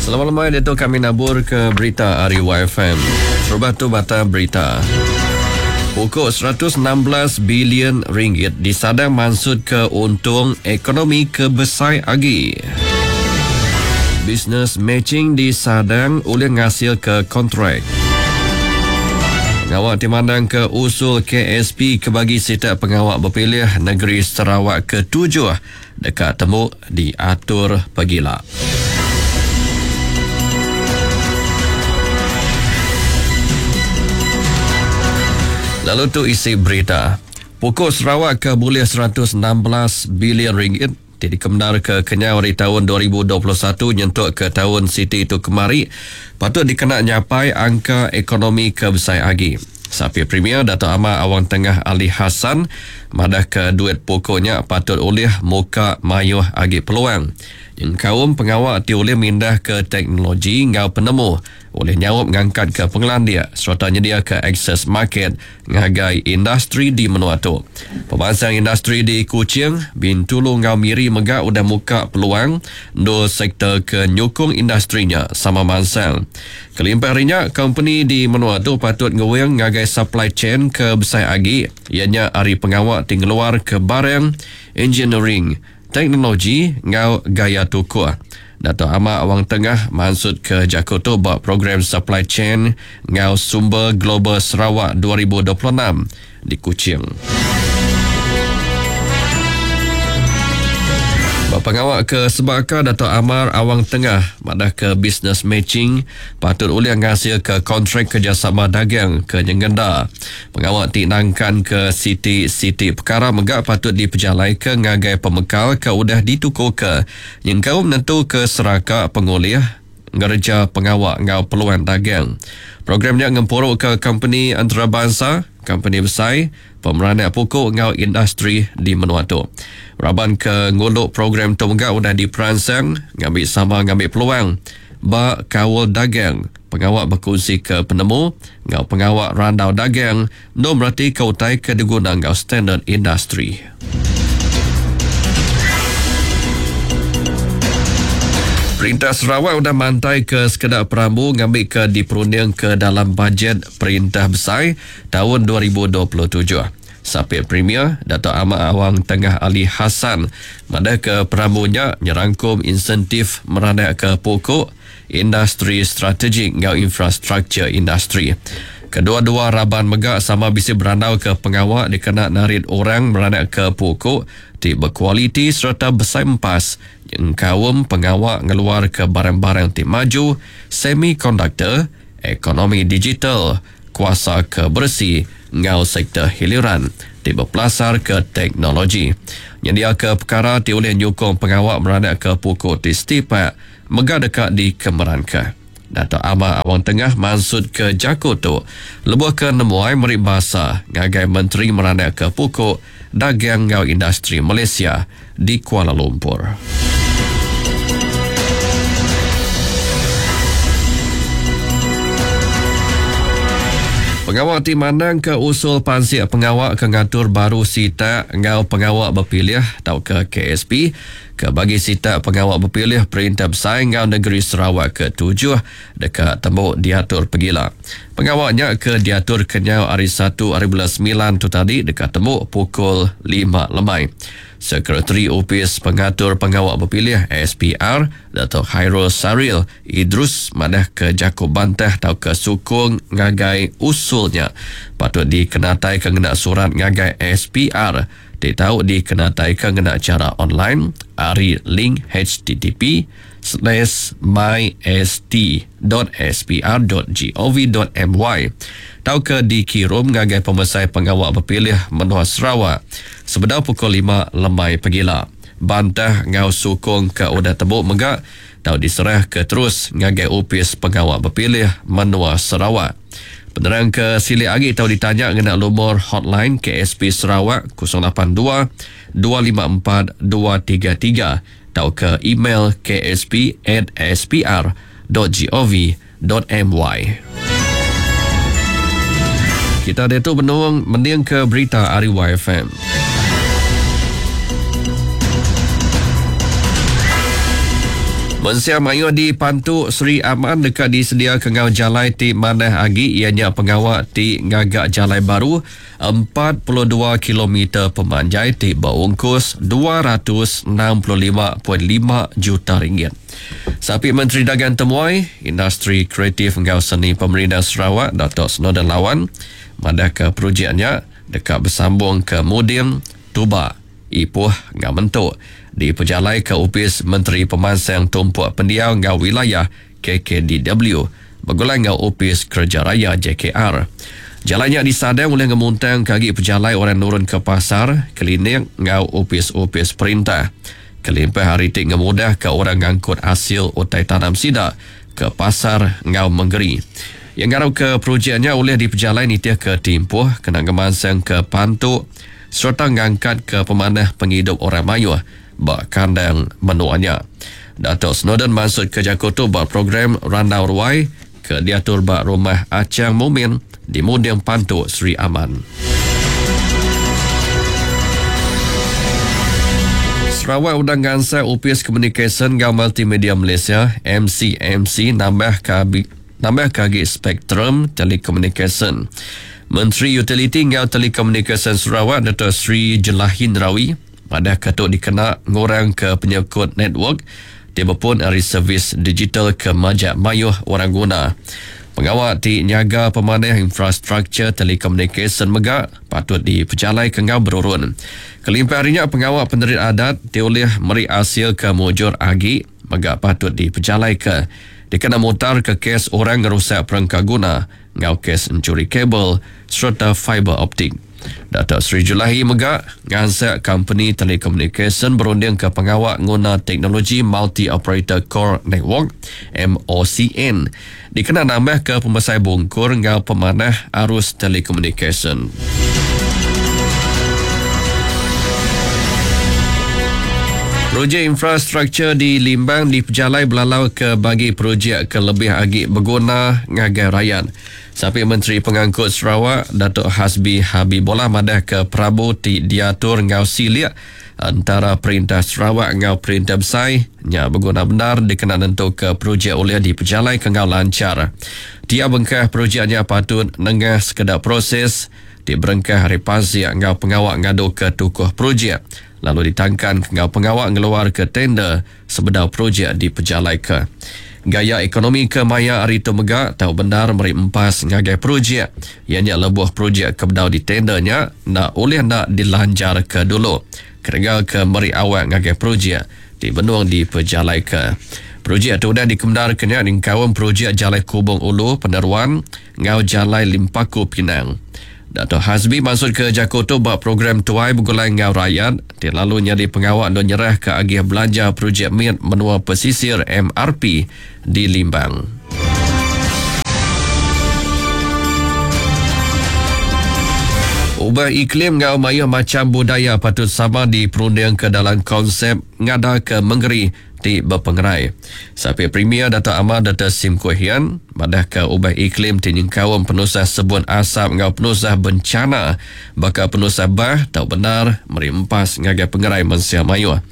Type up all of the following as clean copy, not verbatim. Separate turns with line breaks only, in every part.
Selamat lemai ditu kami nabur ke berita ari YFM. Terubah tu bata berita. Pukul 116 bilion ringgit disadang mansut ke untung ekonomi ke besai agi. Business matching disadang ulih ngasil ke kontrak. Pengawa ti mandang ke usul KSP ke bagi sitak pengawa bepilih negeri Sarawak ke-7 deka temu diatur pegila. Lalu tu isi berita. Pukul Sarawak ke bulih 116 bilion ringgit ti dikemendarka kenyau ari taun 2021 nyentuk ke taun siti itu kemari patut dikena nyapai angka ekonomi ke besai agi. Sapit Premier Datuk Amar Awang Tengah Ali Hasan madahka duit pokok nya patut ulih muka mayuh agi peluang nyengkaum pengawa ti ulih mindahka teknologi enggau penemu ulih nyaup ngangkatka pengelandik sereta nyediaka akses market ngagai industri di menua tu. Pemansang industri di Kuching, Bintulu enggau Miri mega udah muka peluang endur sektor ke nyukung industri nya sama mansang. Kelimpah ari nya, kompeni di menua tu patut nguing ngagai supply chain ke besai agi iya nya ari pengawa ti ngeluarka barang, engineering, teknologi enggau gaya tukuh. Datuk Amar Awang Tengah mansutka jaku tu ba Program Supply Chain enggau Sumber Global Sarawak 2026 di Kuching. Ba pengawa ke sebaka, Datuk Amar Awang Tengah madahka business matching patut ulih ngasilka kontrak kerejasama dagang ke nyengenda. Pengawa ti nangkanka siti-siti pekara mega patut dipejalaika ngagai pemekal ke udah ditukuka nyengkaum nentuka seraka pengulih ngereja pengawa enggau peluang dagang. Program nya ngempuruka kompeni antarabansa, kompeni besai, pemeranak puku enggau industri di menua tu. Raban ke ngulu program tu mega udah diperansang ngambi sama ngambi peluang ba kaul dagang, pengawa bekunsika penemu enggau pengawa randau dagang endur meratika utai ke diguna enggau standard industri. Perintah Sarawak udah mantaika sekeda perambu ngambika diperundingka dalam bajet perintah besai taun 2027. Sapit Premier, Datuk Amar Awang Tengah Ali Hasan madahka perambu nya nyerangkum insentif meranakka puku, industri strategik enggau infrastruktur industri. Kedua-dua raban mega sama bisi berandauka pengawa dikena narit orang meranakka puku ti bekualiti sereta besai empas nyengkaum pengawa ngeluarka barang-barang ti maju, semikonduktor, ekonomi digital, kuasa ke beresi enggau sektor hiliran ti bepelasarka teknologi. Nyendiaka pekara ti ulih nyukung pengawa meranakka puku ti setipak mega deka dikemeranka. Datuk Amar Awang Tengah mansutka jaku tu lebuh ke nemuai meri basa ngagai Menteri Meranakka Puku, Dagang enggau Industri Malaysia di Kuala Lumpur. Pengawa ti mandangka usul pansik pengawa ke ngatur baru sitak enggau pengawa bepilih tauka KSP ke bagi sitak pengawa bepilih Perintah Besai enggau Negeri Sarawak ke tujuh deka tembu diatur pegila. Pengawa nya ke diatur kenyau ari satu ari bulan semilan tu tadi deka tembu pukul lima lemai. Sekretari Opis Pengatur Pengawa Bepilih, SPR, Datuk Khairul Saril Idrus madahka jaku bantah tauka sukung ngagai usul nya patut dikenataika ngena surat ngagai SPR ti tau dikenataika ngena chara online ari link http slash myst dot spr dot gov dot my tauka dikirum ngagai Pemesai Pengawa Bepilih Menua Sarawak sebedau pukul lima lemai pegila. Bantah enggau sukung ke udah tembu mega tau diserahka terus ngagai Opis Pengawa Bepilih Menua Sarawak. Penerang ke silik agi tau ditanya ngena lumur hotline KSP Sarawak 082 254 233 tauka email ksp@spr.gov.my. Kita diatu benung mendingka berita ari YFM. Mensia mayuh di Pantu Sri Aman deka disediaka enggau jalai ti manah agi iya nya pengawa ti ngaga jalai baru 42 kilometer pemanjai ti beungkus 265.5 juta ringgit. Sapit Menteri Dagang Temuai, Industri Kreatif enggau Seni Pemerindang Sarawak Datuk Snowdan Lawan madahka projek nya deka besambung ke Muding, Tuba, Ipoh enggau Mentok dipejalaika Opis Menteri Pemansang Tumpuk Pendiau enggau Wilayah, KKDW, begulai enggau Opis Kereja Raya, JKR. Jalai nya disadang ulih ngemuntangka agi pejalai orang nurun ke pasar, klinik enggau opis-opis perintah. Kelimpah ari ti ngemudahka orang ngangkut asil utai tanam sida ke pasar enggau mengeri. Iya ngarapka projek nya ulih dipejalai nitihka timpuh kena ngemansangka pantu sereta ngangkatka pemanah pengidup orang mayuh ba kandang menua nya. Datuk Snowdan mansutka jaku tu ba program Randau Ruai ke diatur ba Rumah Achang Mumin di Munding Pantu, Sri Aman. Sarawak udah ngansak Opis Komunikasyen enggau Multimedia Malaysia, MCMC, nambahka nambahka agi spektrum telekomunikasyen. Menteri Utiliti enggau Telekomunikasyen Sarawak Dato Sri Jelahin Rawi madahka tu dikena ngurangka penyekut network ti bepun ari servis digital ke majak mayuh orang guna. Pengawa ti nyaga pemanah infrastruktur telekomunikasyen mega patut dipejalaika enggau berurun. Kelimpah ari nya pengawa penerit adat ti ulih meri asil ke mujur agi mega patut dipejalaika dikena mutarka kes orang ngerusak perengka guna enggau kes enchuri kabel sereta fiber optik. Datuk Seri Julaihi mega ngansak kompeni telekomunikasyen berundingka pengawa nguna teknologi Multi-Operator Core Network, MOCN, dikena nambahka pemesai bungkur enggau pemanah arus telekomunikasyen. Projek infrastruktur di Limbang dipejalai belalau ke bagi projek ke lebih agi beguna ngagai rayat. Sapit Menteri Pengangkut Sarawak, Datuk Hasbi Habibollah madahka perambu ti diatur enggau silik entara Perintah Sarawak enggau Perintah Besai nya beguna bendar dikena nentuka projek ulih dipejalaika enggau lanchar. Tiap bengkah projek nya patut nengah sekeda proses ti berengkah ari pansik enggau pengawa ngaduka tukuh projek lalu ditangkanka enggau pengawa ngeluarka tender sebedau projek dipejalaika. Gaya ekonomi ke maya hari tu mega tau bendar meri empas ngagai projek iya nya lebuh projek ke bedau ditender nya enda ulih enda dilanjarka dulu ketegal ke meri awak ngagai projek ti benung dipejalaika. Projek tu udah dikemendarka nya nyengkaum projek Jalai Kubong Ulu Peneruan enggau Jalai Limpaku Pinang. Dato Hasbi mansutka jaku tu ba program Tuai Begulai Enggau Rayat ti lalu nyadi pengawa endur nyerahka agih belanja projek mit menua pesisir MRP di Limbang. Ubah iklim enggau mayuh macham budaya patut sama diperundingka dalam konsep ngadaka mengeri ti bepengerai. Sapit Premier Datuk Amar Doktor Sim Kui Hian madahka ubah iklim ti nyengkaum penusah sebun asap enggau penusah bencana baka penusah bah tau bendar meri empas ngagai pengerai mensia mayuh.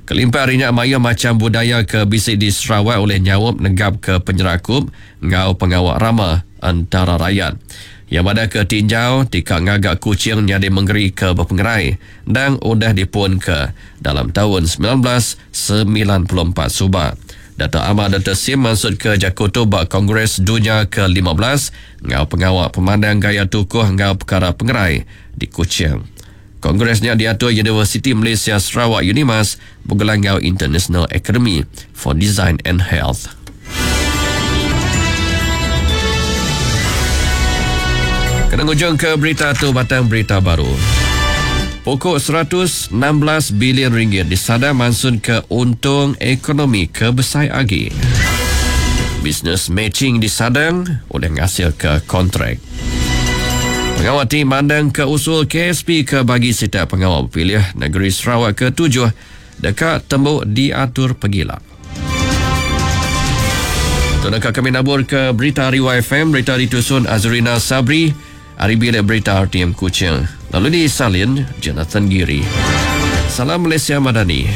Kelimpah ari nya mayuh macham budaya ke bisi di Sarawak ulih nyaup negapka penyerakup enggau pengawa rama entara rayat. Iya madahka tinjau ti ka ngaga Kuching nyadi mengeri ke bepengerai endang udah dipunka dalam taun 1994 suba. Datuk Amar Doktor Sim mansutka jaku tu ba Kongres Dunya ke 15 enggau Pengawa Pemandang Gaya Tukuh enggau Pekara Pengerai di Kuching. Kongres nya diatur Universiti Malaysia Sarawak Unimas begulai enggau International Academy for Design and Health. Kena ngujungka berita tu batang berita baru. Pokok 116 bilion ringgit disadang mansutka untung ekonomi ke besai agi. Business matching disadang ulih ngasilka kontrak. Pengawa ti mandangka usul KSP ke bagi sitak pengawa bepilih negeri Sarawak ke tujuh deka tembu diatur pegila. Tu naka kami nabur ke berita ari YFM, berita ditusun Azrina Sabri ari bilik berita RTM Kuching. Lalu disalin Jonathan Giri. Salam Malaysia Madani.